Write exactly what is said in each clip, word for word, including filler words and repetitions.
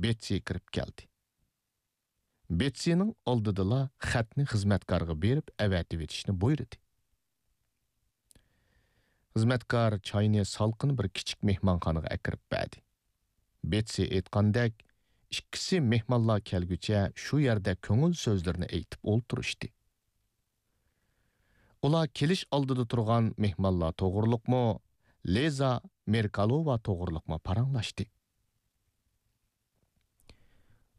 بېتسى كىرىپ كەلدى. بېتسىنىڭ ئالدىدىلا خەتنى خىزمەتكارغا بېرىپ ئەۋەتىۋېتىشنى بۇيرۇدى. خىزمەتكار چاينى سالقىن بىر كىچىك مېھمانخانىغا ئەكىرىپ بەردى. بېتسى ئېيتقاندەك، ئىككىسى مېھمانلار كەلگۈچە شۇ يەردە كۆڭۈل سۆزلىرىنى ئېيتىپ ئولتۇرۇشتى. ئۇلار كېلىش ئالدىدا تۇرغان مېھمانلار توغرۇلۇقمۇ، لىزا مېركالوۋا توغرۇلۇقمۇ پاراڭلاشتى.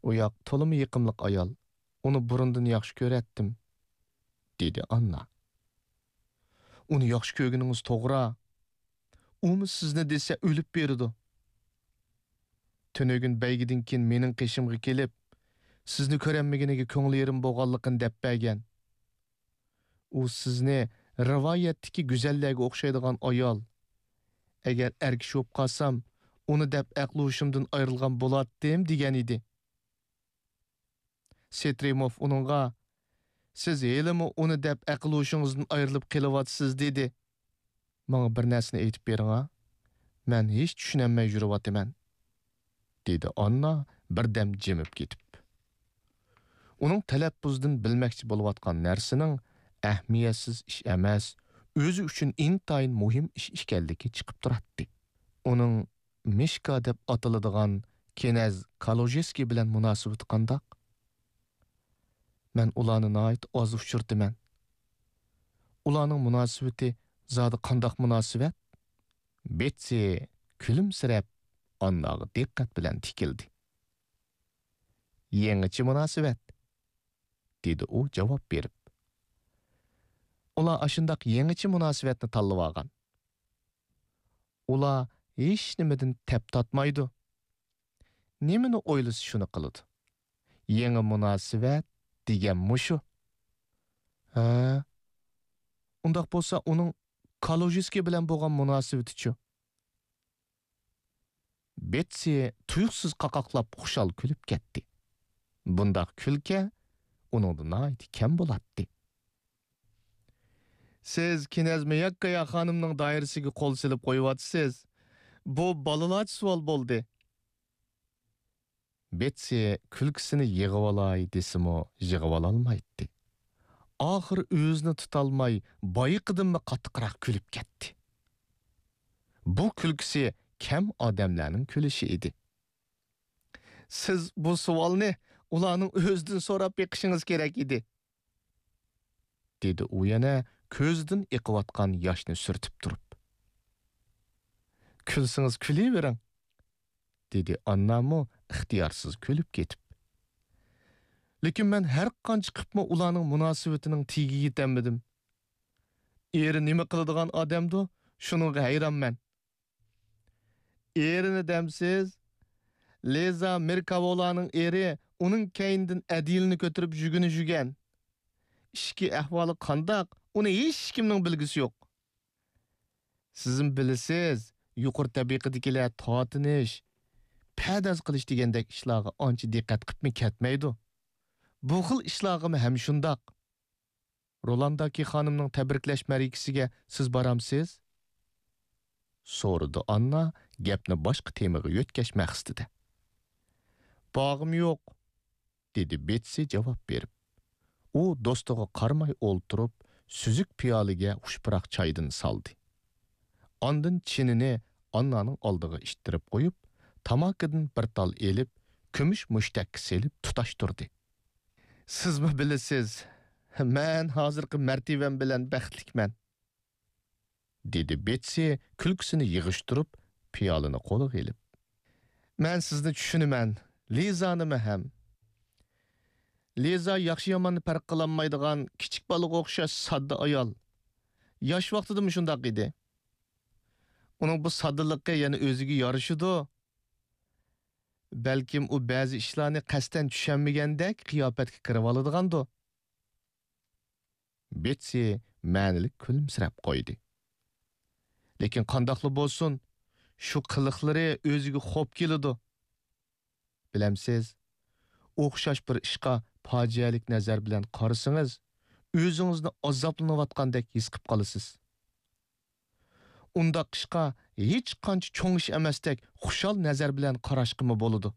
«ئۇ ياق تولىمۇ يېقىملىق ئايال، ئۇنى بۇرۇندىن ياخشى كۆرەتتىم»، دېدى ئاننا. «ئۇنى ياخشى كۆرگىنىڭىز توغرا. ئۇمۇ سىزنى دېسە ئۆلۈپ بېرىدۇ. تۈنۈگۈن بەيگىدىن كېيىن مېنىڭ قېشىمغا كېلىپ، سىزنى كۆرەلمىگىنىگە كۆڭلى يېرىم بولغانلىقىنى دەپ بەرگەن. ئۇ سىزنى رىۋايەتتىكى گۈزەللەرگە ئوخشايدىغان ئايال، ئەگەر ئەر كىشى بولۇپ قالسام، ئۇنى دەپ ئەقلى ھوشۇمدىن ئايرىلغان بولاتتىم، دېگەن ئىدى. سېترىموف ئۇنىڭغا، سىز ھېلىمۇ ئۇنى دەپ ئەقىل ھوشىڭىزدىن ئايرىلىپ قېلىۋاتىسىز، دېدى. ماڭا بىر نەرسىنى ئېيتىپ بېرىڭا، مەن ھېچ چۈشىنەلمەي يۈرۈۋاتىمەن، دېدى ئاننا بىردەم جىمىپ كېتىپ. ئۇنىڭ تەلەپپۇزىدىن بىلمەكچى بولۇۋاتقان نەرسىنىڭ ئەھمىيەتسىز ئىش ئەمەس، ئۆزى ئۈچۈن ئىنتايىن مۇھىم ئىش ئىكەنلىكى چىقىپ تۇراتتى. ئۇنىڭ مىشكا دەپ ئاتىلىدىغان كېنەز كالۇژېسكىي بىلەن مۇناسىۋىتى قانداق؟ مەن ئۇلارنى ناھايىتى ئاز ئۇچرىتىمەن. ئۇلارنىڭ مۇناسىۋىتى زادى قانداق مۇناسىۋەت؟ بېتسى كۈلۈمسىرەپ ئانناغا دىققەت بىلەن تىكىلدى. يېڭىچە مۇناسىۋەت، دېدى ئۇ جاۋاب بېرىپ. ئۇلار ئاشۇنداق يېڭىچە مۇناسىۋەتنى تاللىۋالغان. ئۇلار ھېچنېمىدىن تەپ تارتمايدۇ. نېمىنى ئويلىسا شۇنى قىلىدۇ. يېڭى مۇناسىۋەت دېگەن مۇشۇ. ھە؟ ئۇنداق بولسا ئۇنىڭ كالۇژىسكىي بىلەن بولغان مۇناسىۋىتىچۇ؟ بېتسى تۇيۇقسىز قاقاقلاپ خۇشال كۈلۈپ كەتتى. بۇنداق كۈلكە ئۇنىڭدا ناھايىتى كەم بولاتتى. سىز كىنەز مىياككايا خانىمنىڭ دائىرىسىگە قول سېلىپ قويۇۋاتىسىز. بۇ بالىلارچە سوئال بولدى. بېتسى كۈلكىسىنى يىغىۋالاي دېسىمۇ يىغىۋالالمايتتى. ئاخىرى ئۆزىنى تۇتالماي بايىقىدىنمۇ قاتتىقراق كۈلۈپ كەتتى. بۇ كۈلكىسى كەم ئادەملەرنىڭ كۈلۈشى ئىدى. سىز بۇ سوئالنى ئۇلارنىڭ ئۆزىدىن سوراپ بېقىشىڭىز كېرەك ئىدى. دېدى ئۇ يەنە كۆزىدىن ئېقىۋاتقان ياشنى سۈرتۈپ تۇرۇپ. كۈلسىڭىز كۈلۈۋېرىڭ، دېدى ئاننامۇ ئىختىيارسىز كۈلۈپ كېتىپ. لېكىن مەن ھەر قانچە قىپمۇ ئۇلارنىڭ مۇناسىۋىتىنىڭ تېگىگە يېتەلمىدىم. ئېرى نېمە قىلىدىغان ئادەمدۇ، شۇنىڭغا ھەيرانمەن. ئېرىنى دەمسىز؟ لىزا مېركاۋولانىڭ ئېرى ئۇنىڭ كەينىدىن ئەدىلىنى كۆتۈرۈپ يۈگىنى يۈگەن. ئىچكى ئەھۋالى قانداق، ئۇنى ھېچكىمنىڭ بىلگۈسى يوق. سىزمۇ بىلىسىز، يۇقىرى تەبىقىدىكىلەر تارتىنىش، پەدەز قىلىش دېگەندەك ئىشلارغا ئانچە دىققەت قىپمۇ كەتمەيدۇ. بۇ خىل ئىشلارغىمۇ ھەم شۇنداق. رولانداكى خانىمنىڭ تەبرىكلەش مەرىكىسىگە سىز بارامسىز؟ سورىدى ئاننا گەپنى باشقا تېمىغا يۆتكەش مەقسىتىدە. بارغۇم يوق، دېدى بېتسى جاۋاب بېرىپ. ئۇ دوستىغا قارىماي ئولتۇرۇپ، سۈزۈك پىيالىگە خۇش پۇراق چايدىن سالدى. ئاندىن چىنىنى ئاننانىڭ ئالدىغا ئىتتىرىپ قويۇپ، تاماكىدىن بىر تال ئېلىپ، كۈمۈش مۇشتەككە سېلىپ تۇتاشتۇردى. سىزمۇ بىلىسىز، مەن ھازىرقى مەرتىۋەم بىلەن بەختلىكمەن. دېدى بېتسى كۈلكىسىنى يىغىشتۇرۇپ، پىيالىنى قولىغا ئېلىپ. مەن سىزنى چۈشىنىمەن، لىزانىمۇ ھەم. لىزا ياخشى-ياماننى پەرق قىلالمايدىغان كىچىك بالىغا ئوخشاش ساددا ئايال. ياش ۋاقتىدىمۇ شۇنداق ئىدى. ئۇنىڭ بۇ ساددىلىقى يەنە ئۆزىگە يارىشىدۇ. بەلكىم ئۇ بەزى ئىشلارنى قەستەن چۈشەنمىگەندەك قىياپەتكە كىرىۋالىدىغاندۇ. بېتسى مەنىلىك كۈلۈمسىرەپ قويدى. لېكىن قانداقلا بولسۇن، شۇ قىلىقلىرى ئۆزىگە خوپ كېلىدۇ. بىلەمسىز، ئوخشاش بىر ئىشقا پاجىئەلىك نەزەر بىلەن قارىسىڭىز، ئۆزىڭىزنى ئازابلىنىۋاتقاندەك ھېس قىپ قالىسىز. ئۇنداق ئىشقا ھېچقانچە چوڭ ئىش ئەمەستەك خۇشال نەزەر بىلەن قاراشقىمۇ بولىدۇ.